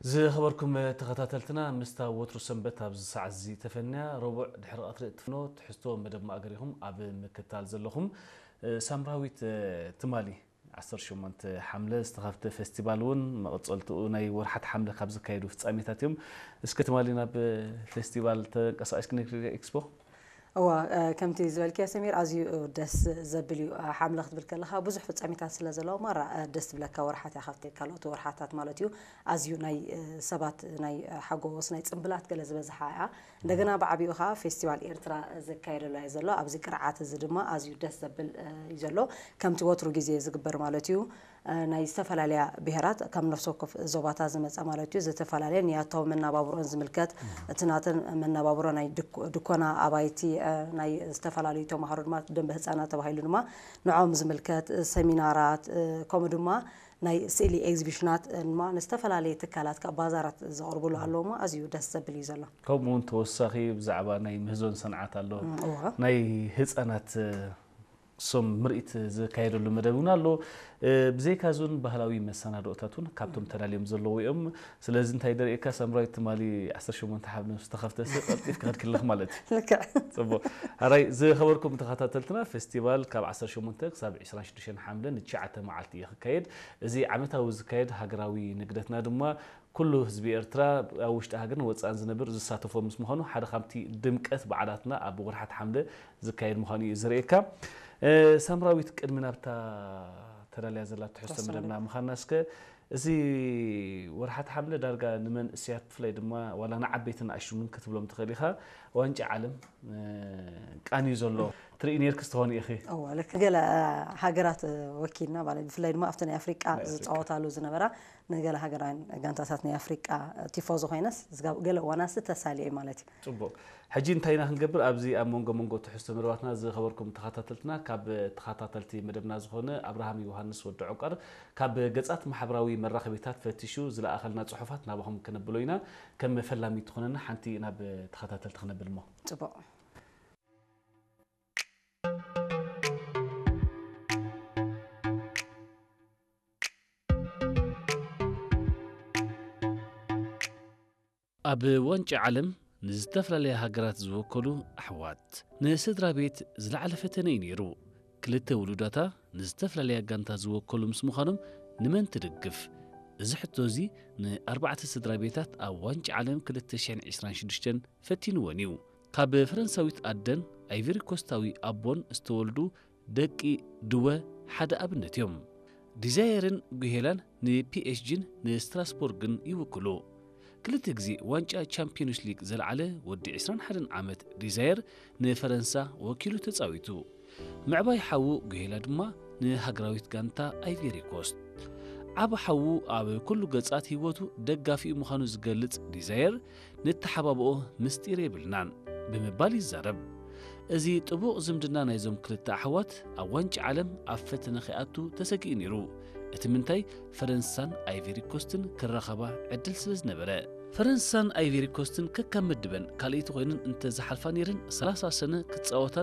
ዝኸበርኩም ተኸታተልትና፣ ምስታ ወትሩ ሰንበት ኣብዚ ሰዓት እዚ ተፈንያ፣ ረቡዕ ድሕሪ ቀትሪ እትፍኖ ትሕዝቶ መደብ ማእገር ኢኹም ኣብ ምክታል ዘለኹም። እ፣ ሳምራዊት፣ እ፣ ትማሊ ዓሰርተ ሸሞንተ ሓምለ ዝተኸፍተ ፌስቲቫል እውን መቐጸልትኡ ናይ ወርሓት ሓምለ ካብ ዝካየዱ ፍጻሜታት እዮም። እስከ ትማሊ ናብ ፌስቲቫል ተንቀሳቒስኪ ነግሪ ኤክስፖ? እዋ፣ እ፣ ከምቲ ዝበልክዮ ሰሚር፣ ኣዝዩ ደስ ዘብል እዩ። እ፣ ሓምለ ክትብል ከለኻ ብዙሕ ፍጻሜታት ስለ ዘለዎ፣ ማራ፣ እ፣ ደስ ትብለካ ወርሓት እያ፣ ካብቲ ካልኦት ወርሓታት ማለት እዩ። ኣዝዩ ናይ፣ እ፣ ሰባት ናይ፣ እ፣ ሓጎስ፣ ናይ ጽምብላት ገለ ዝበዝሓ እያ። እንደገና ብዓቢኡ ኸዓ ፌስቲቫል ኤርትራ ዝካየደሉ እዩ ዘሎ። ኣብዚ ቅርዓት እዚ ድማ ኣዝዩ ደስ ዘብል፣ እ፣ እዩ ዘሎ። ከምቲ ወትሩ ግዜ ዝግበር ማለት እዩ። እ፣ ናይ ዝተፈላለያ ብሄራት ካብ ነፍሲ ወከፍ ዞባታት ዝመጸ ማለት እዩ። ዝተፈላለየ ንያታዊ መናባብሮን ዝምልከት፣ እቲ ናተን መናባብሮ ናይ ድኮ-፣ ድኮና ኣባይቲ፣ እ፣ ናይ ዝተፈላለዩ ተማሃሮ ድማ ደንበ ህጻናት ተባሂሉ ድማ ንዖም ዝምልከት፣ እ፣ ሰሚናራት፣ እ፣ ከምኡ ድማ ናይ ስእሊ ኤግዚቢሽናት፣ እ፣ ድማ ንዝተፈላለየ ትካላት ካብ ባዛራት ዘቕርብሉ ኣለዎ እሞ ኣዝዩ ደስ ዘብል እዩ ዘሎ። ከምኡ እውን ተወሳኺ ብዛዕባ ናይ ምህዞን ሰንዓት ኣሎ። እም፣ እዋ። ናይ ህጻናት፣ እ፣ ሶም ምርኢት ዝካየደሉ መደብ እውን ኣሎ። እ፣ ብዘይካ እዚ እውን ባህላዊ መሰናድኦታት እውን ካብቶም ተዳልዮም ዘለዉ እዮም። ስለዚ እንታይ ደርእየካ ሳምራዊት፣ ትማሊ ዓሰርተ ሸሞንተ ሓምለ ምስ ተኸፍተ ሲ ቀልጢፍ ክኸድክለኽ ማለት እዩ። ልክዕ። ጽቡቕ። ኣራይ ዝኸበርኩም ተኸታተልትና፣ ፌስቲቫል ካብ ዓሰርተ ሸሞንተ ክሳብ ዕስራን ሽዱሽተን ሓምለ ንትሽዓተ መዓልቲ እዩ ክካየድ። እዚ ዓመታዊ ዝካየድ ሃገራዊ ንግደትና ድማ ኩሉ ህዝቢ ኤርትራ ኣብ ውሽጢ ሃገርን ወጻእን ዝነብር ዝሳተፎ ምስ ምዃኑ ሓደ ካብቲ ድምቀት በዓላትና ኣብ ወርሓት ሓምለ ዝካየድ ምዃኑ እዩ ዘርእየካ። እ፣ ሳምራዊት፣ ቅድሚ ናብታ ተዳልያ ዘላ ትሕዝቶ ትሕዝቶ መደብና መደብ። ምዃንና እስከ፣ እዚ ወርሓት ሓምለ ዳርጋ ንመንእሰያት ብፍላይ ድማ ዋላ ንዓበይትን ንኣሽቱን እውን ክትብሎም ትኽእል ኢኻ፣ ዋንጫ ዓለም፣ እ፣ ቃንዩ ዘሎ ትርኢ ነርክስ ትኾኒ ኢኺ። እወ፣ ልክ ገለ፣ እ፣ ሃገራት፣ እ፣ ወኪልና ማለት ብፍላይ ድማ ኣብቲ ናይ ኣፍሪቃ ናይ ኣፍሪቃ። ዝጻወታሉ ዝነበራ ንገለ ሃገራውያን ጋንታታት ናይ ኣፍሪቃ ቲፎዞ ኮይነስ፣ ዝጋ-፣ ገለ እዋናት ተሳልየ ማለት እዩ። ጽቡቕ። ሕጂ እንታይ ኢና ክንገብር? ኣብዚ ኣብ መንጎ መንጎ ትሕዝቶ መደባትና ዝኸበርኩም ተኸታተልትና፣ ካብ ተኸታተልቲ መደብና ዝኾነ ኣብርሃም ዮሃንስ ወዲ ዑቀር ካብ ገጻት ማሕበራዊ መራኸቢታት ፈቲሹ ዝለኣኸልና ጽሑፋት ናባኹም ከነብሎ ኢና። ከም ፈላሚ ትኾነና ሓንቲ ናብ ተኸታተልቲ ክነብል እሞ። ጽቡቕ። ኣብ ዋንጫ ዓለም ንዝተፈላለያ ሃገራት ዝወከሉ ኣሕዋት፣ ንስድራ ቤት ዝለዓለ ፈተነ እዩ ነይሩ። ክልተ ውሉዳታ ንዝተፈላለያ ጋንታ ዝወከሉ ምስ ምዃኖም ንመን ትድግፍ? እዚ ሕቶ እዚ ንኣርባዕተ ስድራ ቤታት ኣብ ዋንጫ ዓለም ክልተ ሽሕን ዕስራን ሽዱሽተን ፈቲንወን እዩ። ካብ ፈረንሳዊት ኣደን ኣይቨሪ ኮስታዊ ኣቦን ዝተወልዱ ደቂ ድወ ሓደ ኣብነት እዮም። ዲዛየርን ጉሄላን ንፒኤስጂን ንስትራስቦርግን ይውክሉ። ክልተ ግዜ ዋንጫ ቻምፒዮንስ ሊግ ዘልዓለ ወዲ ዕስራን ሓደን ዓመት ዲዛየር ንፈረንሳ ወኪሉ ተጻዊቱ። ምዕባይ ሓዉ ጉሄላ ድማ ንሃገራዊት ጋንታ ኣይቬሪ ኮስት። ዓቢ ሓዉ ኣብ ኩሉ ገጻት ህይወቱ ደጋፊኡ ምዃኑ ዝገልጽ ዲዛየር፣ "ንተሓባብኦ ምስጢር የብልናን" ብምባል ይዛረብ። እዚ ጥቡቕ ዝምድና ናይዞም ክልተ ኣሕዋት ኣብ ዋንጫ ዓለም ኣብ ፈተነ ከይኣቱ ተሰጊኡ ነይሩ። እቲ ምንታይ ፈረንሳን ኣይቨሪ ኮስትን ክራኸባ ዕድል ስለ ዝነበረ። ፈረንሳን ኣይቨሪ ኮስትን ከካብ ምድበን ካልኣይቲ ኮይነን እንተ ዝሓልፋ ነይረን፣ ሰላሳ ሰነ ክጻወታን